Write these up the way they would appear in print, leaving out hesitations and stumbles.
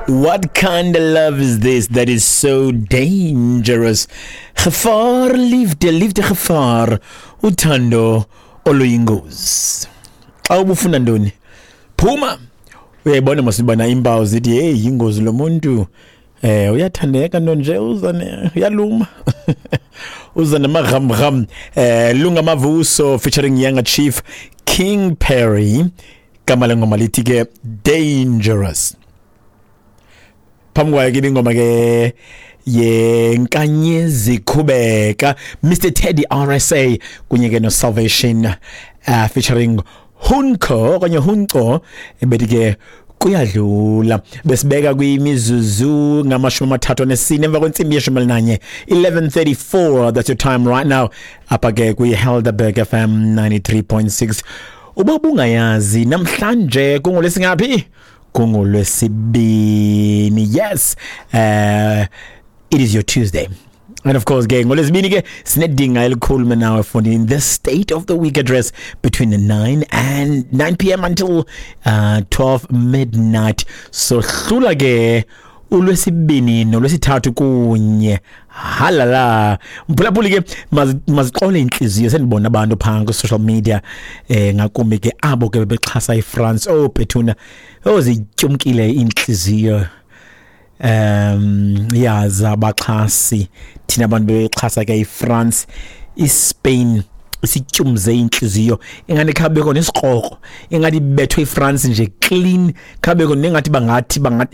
What kind of love is this that is so dangerous? Gevaar, liefde, liefde gevaar, uthando oluyingozi. Xa ubufuna ntoni? Phuma. Uyayibona masibana impawu zithi hey yingozi lo muntu. Eh uyathandeka nto nje uza ne uyaluma. Uza namagham eh Lunga Mavuso featuring Younger Chief King Perry. Gama lengoma lithi ke Dangerous. Phambi kwayo ke ingoma ke yenkanyezi khubeka Mr Teddy RSA kunye ke no Salvation featuring Hunko okanye Hunco ebethi ke kuyadlula. Besibeka kwimizuzu ngama-34 emva kwentsimbi ye-11, 11:34, that's your time right now apha ke kwi-Helderberg FM 93.6. Uba ubungayazi, namhlanje kungolwesingaphi? Kungolwesibini. Yes, it is your Tuesday. And of course ke ngolwesibini ke sinedinga elikhulu nawe efondini, the State of the Week address between the 9 and 9 p.m. until 12 midnight. So hlula ke ulwesibini nolwesithathu kunye halala mphulaphuli ke mazixole intliziyo. Sendibona abantu phaa kwi-social media, ngakumbi ke abo ke bebexhasa iFrance. Oh bethuna, oh zityumkile iintliziyo ya zabaxhasi. Thina abantu bexhasa ke iFrance, iSpain isityumze inhliziyo, ingathi khabekho nesikrokro, ingathi ibethwe iFrance nje clean, khabekho nengathi bangathi ibona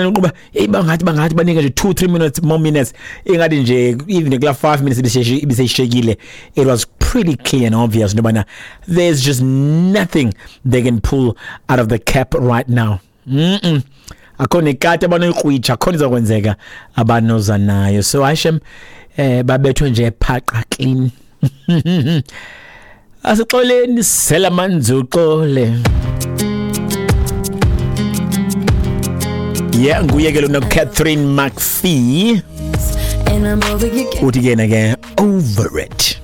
uqhuba hey bangathi banike nje 2 3 minutes more minutes, ingathi nje even kula 5 minutes ibiseshekile. It was pretty clear and obvious nobana there's just nothing they can pull out of the cap right now. Akho nekati abanoyikrwitsha, akho izokwenzeka abanoza nayo. So hashem babethwe nje phaqa clean. Asixoleni, sela manzi uxole. Yeah, nguye ke lona Catherine McPhee. And I'm over you. Uthi ke yena ke over it.